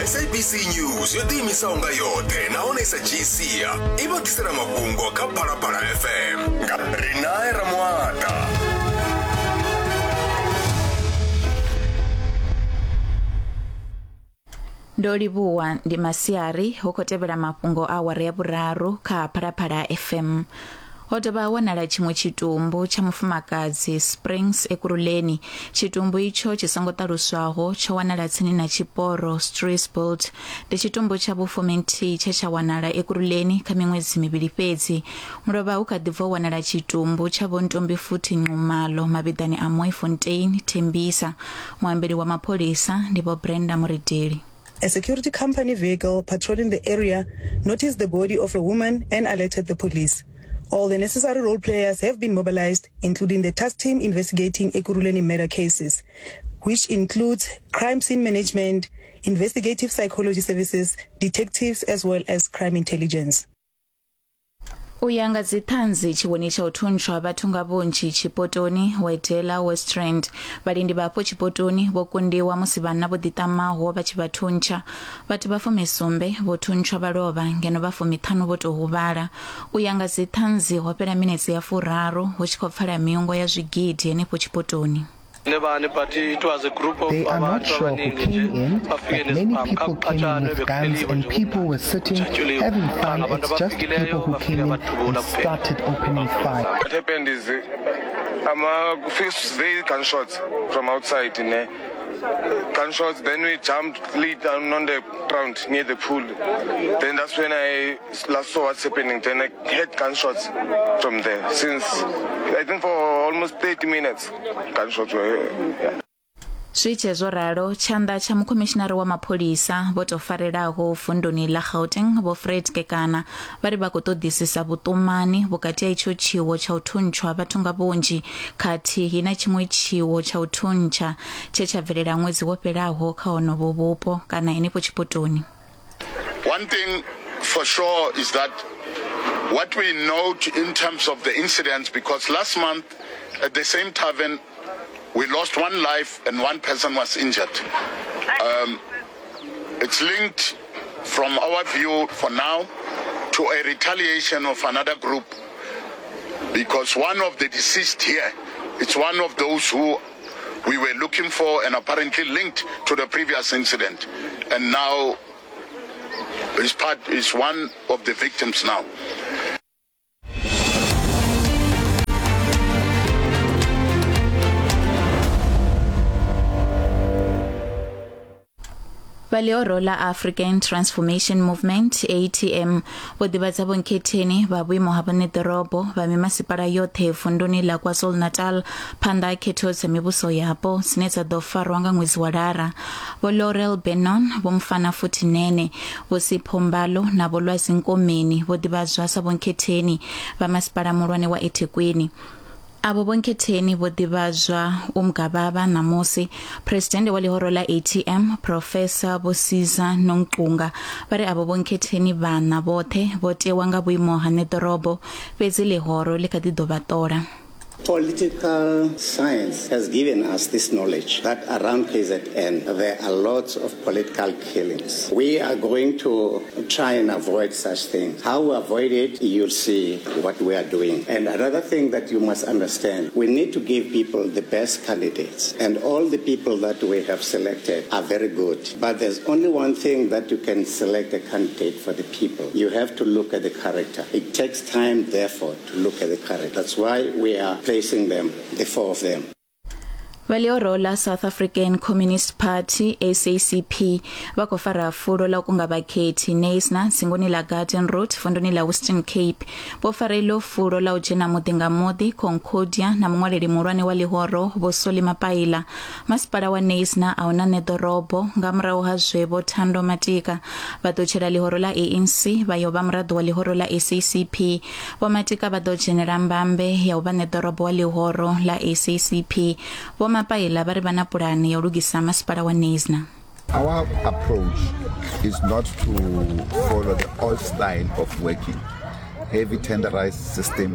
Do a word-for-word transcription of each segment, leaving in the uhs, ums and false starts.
S A B C News yo ḓiimisaho nga yoṱhe nahone i sa dzhii sia i vha ḓisela mafhungo kha Phalaphala F M nga Rinae Ramuata. Ndo livhuwa ndi masiari hu khou tevhela mafhungo a awara ya vhuraru kha Phalaphala F M. Ho dovha ha wanala tshiṅwe tshitumbu tsha mufumakadzi Springs Ekurhuleni. Tshitumbu itsho tshi songo ṱaluswaho tsho wanala tsini na tshiporo Streesbolt. Ndi tshitumbu tsha vhufuminthihi tshe tsha wanala Ekurhuleni kha miṅwedzi mivhili fhedzi. Mulovha hu kha ḓi bva u wanala tshitumbu tsha Vho Ntombifuthi Nxumalo mavhiḓani a Mooifontein, Tembisa. Muambeli wa mapholisa ndi Vho Brenda Murideli. A security company vehicle patrolling the area noticed the body of a woman and alerted the police. All the necessary role players have been mobilized, including the task team investigating Ekurhuleni murder cases, which includes crime scene management, investigative psychology services, detectives, as well as crime intelligence. U ya nga dziṱhanzi tshiwoni tsha u thuntshwa vhathu nga vhunzhi tshipotoni Wedela West Rand. Vhalindi vha afho tshipotoni vho kundiwa musi vhanna vho ḓiṱamaho vha tshi vha thuntsha. Vhathu vha fumisumbe vho thuntshwa vha lovha ngeno vha fumiṱhanu vho tou huvhala. U ya nga dziṱhanzi ho fhela minetse ya furaru hu tshi khou pfala miungo ya zwigidi henefho tshipotoni. They are not sure who came in, but many people came in with guns and people were sitting, having fun. It's just people who came in and started opening fire. What happened is, um, uh, first they gunshots from outside, in there. Gunshots, then we jumped, lay down on the ground near the pool. Then that's when I last saw what's happening. Then I heard gunshots from there. Since, I think for almost thirty minutes, gunshots were, yeah. Zwi tshe zwo ralo, tshanḓa tsha mukhomishinari wa mapholisa vho tou farelaho vunduni ḽa Gauteng Vho Fred Kekana vha ri vha khou ṱoḓisisa vhuṱumani vhukati ha itsho tshiwo tsha u thuntshwa vhathu nga vhunzhi khathihi na tshiṅwe tshiwo tsha u thuntsha tshe tsha bvelela ṅwedzi wo fhelaho kha honovho vhupo kana henefho tshipotoni. One thing for sure is that what we note in terms of the incidents, because last month at the same tavern we lost one life and one person was injured. Um, it's linked, from our view for now, to a retaliation of another group, because one of the deceased here, it's one of those who we were looking for and apparently linked to the previous incident. And now is part is one of the victims now. Vha ḽihoro ḽa African Transformation Movement A T M vho ḓivhadza vhonkhetheni vha vhuimo ha vhaṋeḓorobo vha mimasipala yoṱhe vunduni ḽa KwaZulu-Natal phanḓa ha khetho dza mivhuso yapo dzine dza ḓo farwa nga ṅwedzi wa Lara. Vho Laurel Benon, Vho Mfana Futhi Nene, Vho Sipho Mbalo na Vho Lwazi Nkomeni vho ḓivhadzwa sa vhonkhetheni vha masipala muhulwane wa eThekwini. Avho vhonkhetheni vho ḓivhadzwa Umgababa ṋamusi. Presidennde wa ḽihoro ḽa A T M Professor Vho Siza Nongqunga vha ri avho vhonkhetheni vhaṋa vhoṱhe vho tewa nga vhuimo ha ṋeḓorobo, fhedzi ḽihoro ḽi kha ḓi ḓo vha ṱola. Political science has given us this knowledge that around K Z N there are lots of political killings. We are going to try and avoid such things. How we avoid it, you'll see what we are doing. And another thing that you must understand, we need to give people the best candidates. And all the people that we have selected are very good. But there's only one thing that you can select a candidate for the people. You have to look at the character. It takes time, therefore, to look at the character. That's why we are placing them, the four of them. Vha ḽihoro ḽa South African Communist Party S A C P vha khou fara fulo ḽa u kunga vhakhethi Knysna dzingoni ḽa Garden Route vunduni ḽa Western Cape. Vho fara iḽo fulo ḽa u dzhena muḓi nga muḓi Concordia na muṅwaleli muhulwane wa ḽihoro Vho Solly Mapaila. Masipala wa Knysna a huna ṋeḓorobo nga murahu ha zwe Vho Thando Matika vha ṱutshela ḽihoro ḽa A N C vha yo vha muraḓo wa ḽihoro ḽa S A C P. Vho Matika vha ḓo dzhenela mbambe ya u vha ṋeḓorobo wa ḽihoro ḽa S A C P. Vho Mapaila vha ri vha na pulane ya u lugisa masipala wa Knysna. Our approach is not to follow the old style of working. heavy tenderized system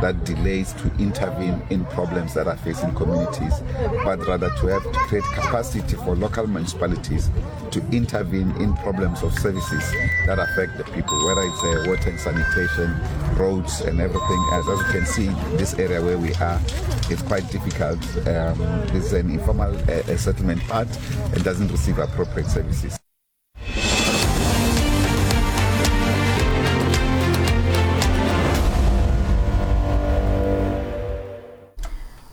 that delays to intervene in problems that are facing communities, but rather to have to create capacity for local municipalities to intervene in problems of services that affect the people, whether it's uh, water and sanitation, roads and everything else. As you can see, this area where we are, it's quite difficult. Um, this is an informal uh, settlement part and doesn't receive appropriate services.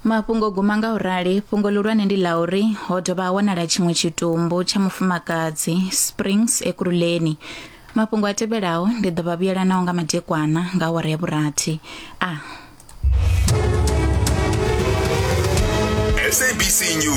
Mafhungo guma nga urali fhungo ḽihulwane ndi ḽa uri ho dovha ha wanala tshiṅwe tshitumbu tsha mufumakadzi Springs Ekurhuleni. Mafhungo a tevhelaho ndi ḓo vha vhuyela nao nga madekwana nga awara ya vhurathi. A S A B C News.